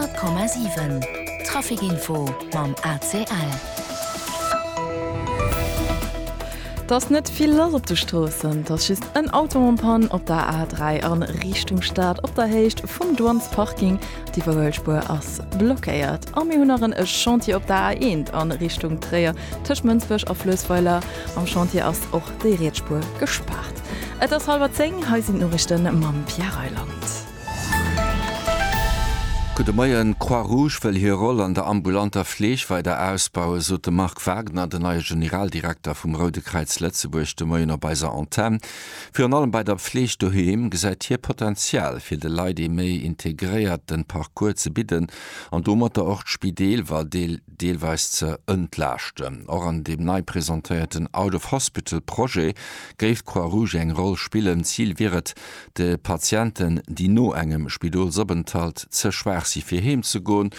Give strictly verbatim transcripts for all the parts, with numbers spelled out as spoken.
Honnert Komma siwen Trafic Info mam A C L. Et ass net vill lass op de Stroossen. Et ass just en Auto en panne op der A dräi an Richtung Stad op der Héicht vum Douanesparking. D'Iwwerhuelspuer ass blockéiert. A mir hunn nach en Chantier op der A eent an Richtung Tréier tëscht Mënsbech a Fluessweiler. Am Chantier ass och déi riets Spuer gespaart. Et ass hallwer zéng, hei sinn d'Noriichten mam Pierre Reyland. Gudde Moien. D'Croix-Rouge wëll hir Roll an der ambulanter Fleeg weider ausbauen, sot de Marc Wagner, den neie Generaldirekter vum Roude Kräiz Lëtzebuerg, de Moien op eiser Antenn. Virun allem bei der Fleeg doheem gesäit hie Potenzial, fir de Leit ee méi integréierte Parcours ze bidden an domatter och d'Spideeler deelweis ze entlaaschten. Och an deem nei presentéierten Out-of-Hospital-Projet géif d'Croix-Rouge eng Roll spillen. Zil wier et, de Patienten, déi no engem Spidolsopenthalt ze schwaach si fir heem ze goen,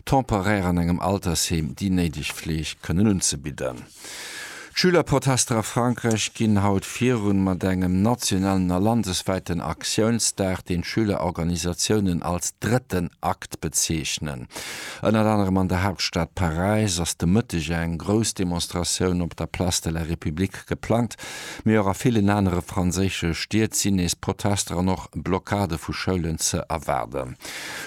temporär an engem Altersheem déi néideg Fleeg kënnen unzebidden. D'Schülerprotester a Frankräich ginn haut virun mat engem nationalen a landeswäiten Aktiounsdag, deen d'Schülerorganisatiounen als drëtten Akt bezeechnen. Ënnert anerem an der Haaptstad Paräis ass de Mëtteg eng grouss Demonstratioun op der Place de la République geplangt, mee och a villen anere franséische Stied sinn nees Protester an och Blockade vu Schoulen ze erwaarden.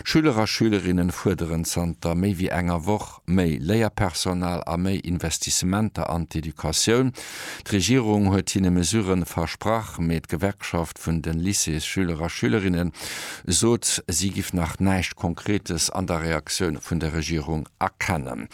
Schüler a Schülerinne fuerderen zanter méi wéi enger Woch méi Léierpersonal a méi Investissementer an d'Educatioun. D'Regierung huet hinne Mesurë versprach, mee d'Gewerkschaft vun de Lycéesschüler a Schülerinne sot, si giff nach näischt Konkretes an der Reaktioun vun der Regierung erkennen.